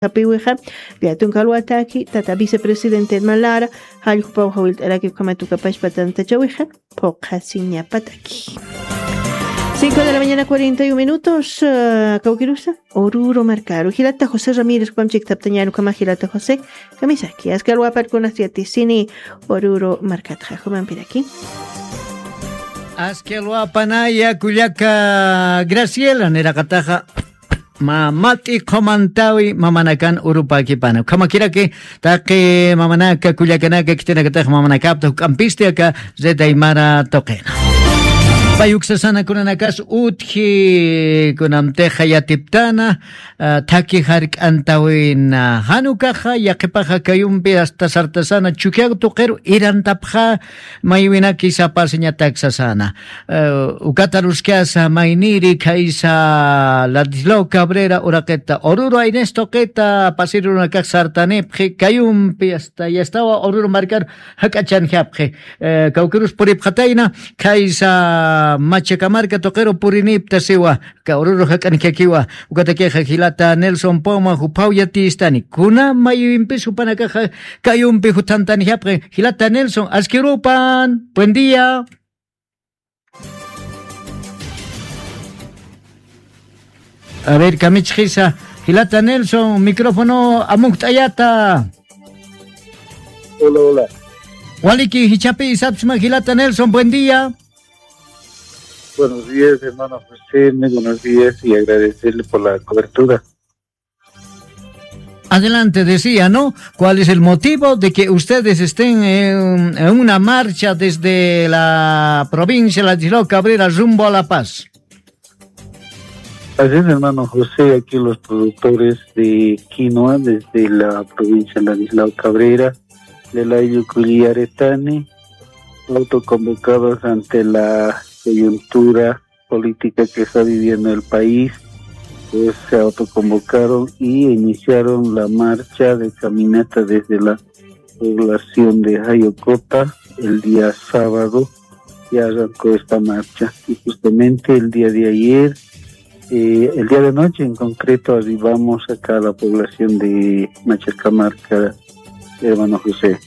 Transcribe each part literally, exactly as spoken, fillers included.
Japiwixa, Beaton Calwataki, tata vicepresidente Edman Lara, jalljupaw jawillt'araki ukhamat ukapachpa tantachawixa, phuqhasiñapataki. Cinco de la mañana, cuarenta y un minutos, ah, kawkirusa, Oruro markaru. Jilata José Ramírez, jupam chiktaptañan ukhama jilata José, kamisaki, aski alwaparkunas yatisini Oruro markatxa, jumampiraki. Aski alwapanaya kullaka Graciela, niraqataxa, Mamat'i qhumantawi mamanakan urupakipana. Ukhamakiraki taqi mamanaka, kullakanaka, khitinakatax mamanakapta juk'ampisti aka Red Aymara tuqina. Pay uksasana kunanakas utji kunamtixa yatiptana, ah, thaki jark'antawina. Jan ukaxa, yaqhipaxa kayumpi hasta sartasana Chukiyago tuqiru irantapxa maywinaki sapasiñatak sasana. Eh, ukata aruskasa mayniri khaysa Ladislao Cabrera uraqita, Oruro Aines tuqita, pasiri urunakax sartanipxi, kayumpi hasta yastawa Oruro markar jak'achanjapxi. Eh, kawkirus puripxatayna, khaysa Machacamarca tuqiru purinipta siwa, ka Oruro jak'anjakiwa, ukatakixa jilata Nelson Poma juphaw yatistani. Kuna maywimpis jupanakaxa kayumpi juthantanjapxi. Jilata Nelson, aski urupan, buen día. A ver, kamichxisa, jilata Nelson, micrófono amukht'ayata. Hola, hola. Waliki, jichhapi sapsma jilata Nelson, buen día. Buenos días, hermano José, muy buenos días y agradecerle por la cobertura. Adelante, decía, ¿no? ¿Cuál es el motivo de que ustedes estén en, en una marcha desde la provincia de Ladislao Cabrera rumbo a La Paz? Así es, hermano José, aquí los productores de quinoa desde la provincia de Ladislao Cabrera, de la Yuculiaretani, autoconvocados ante la coyuntura política que está viviendo el país, pues se autoconvocaron y iniciaron la marcha de caminata desde la población de Jayocota el día sábado. Ya arrancó esta marcha y justamente el día de ayer, eh, el día de noche en concreto, arribamos acá a la población de Machacamarca, hermano José.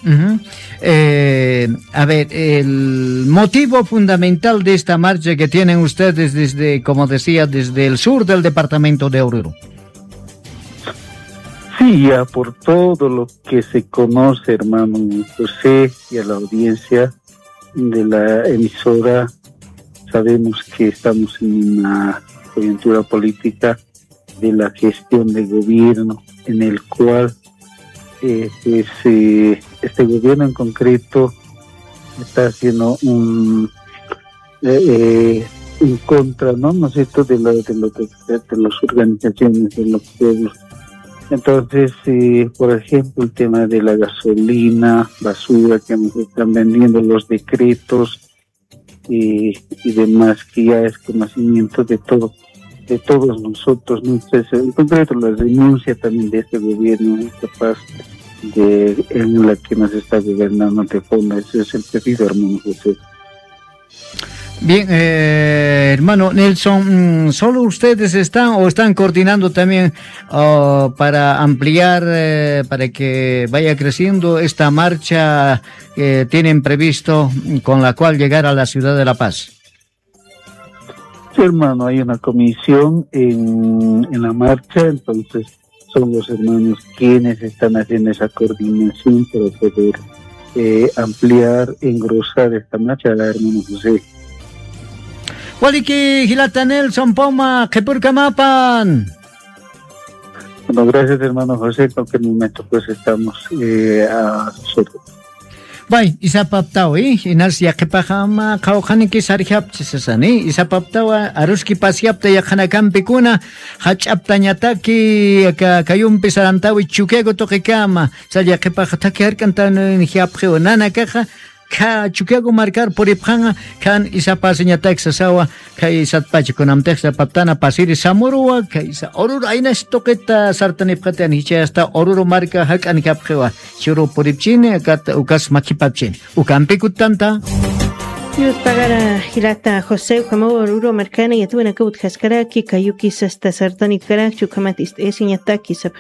Ujú. Eh, a ver, el motivo fundamental de esta marcha que tienen ustedes desde, como decía, desde el sur del departamento de Oruro. Sí, ya por todo lo que se conoce, hermano José, y a la audiencia de la emisora, sabemos que estamos en una coyuntura política de la gestión de gobierno en el cual, eh, pues, eh, este gobierno en concreto está haciendo un, eh, eh, en contra, ¿no? ¿No es cierto? De lo, de lo que, de las organizaciones, de los pueblos. Entonces, eh, por ejemplo, el tema de la gasolina, basura que nos están vendiendo, los decretos, y, y demás, que ya es conocimiento de todo, de todos nosotros, ¿no? Entonces, en concreto, la renuncia también de este gobierno incapaz de, en la que nos está gobernando de fondo. Ese es el pedido, hermano José. Bien, eh, hermano Nelson, mm, ¿solo ustedes están o están coordinando también, oh, para ampliar, eh, para que vaya creciendo esta marcha que tienen previsto, con la cual llegar a la ciudad de La Paz? Sí, hermano, hay una comisión en, en la marcha, entonces son los hermanos quienes están haciendo esa coordinación para poder, eh, ampliar, engrosar esta marcha, hermano José. Waliki, jilata Nelson Poma, qhipurkamapan. Bueno, gracias, hermano José. En cualquier momento, pues, estamos, eh, a sus órdenes. Bay, isapaptaw, eh, inas yaqhipaxama qhawqhaniki sarjapchi sasani, isapaptawa aruski pasyapta yaqhanakampikuna, jach'aptañataki, aka kayumpi sarantawi Chukiyago tuqikama, sa yaqhipaxa thaki jark'antanijapxiwa nanakaxa, kha Chukiyago markar puripxanxa, khan isapasiñatak sasawa, khay satpacha kunamtix sapaptana pasiri Samuruwa, khay sa Oruro aynas tuqita sartanipxatani, jichha hasta Oruro marka jak'anjapxiwa, churu puripchini, akat ukas makhipapchini. Ukampi kuttanta. Yuspagara jilata José, ukhamaw ruru markana yatuwanaka utjaskaraki, kayuki sasta sartanikkarakchi, ukhamat ist'ayasiñataki sapxi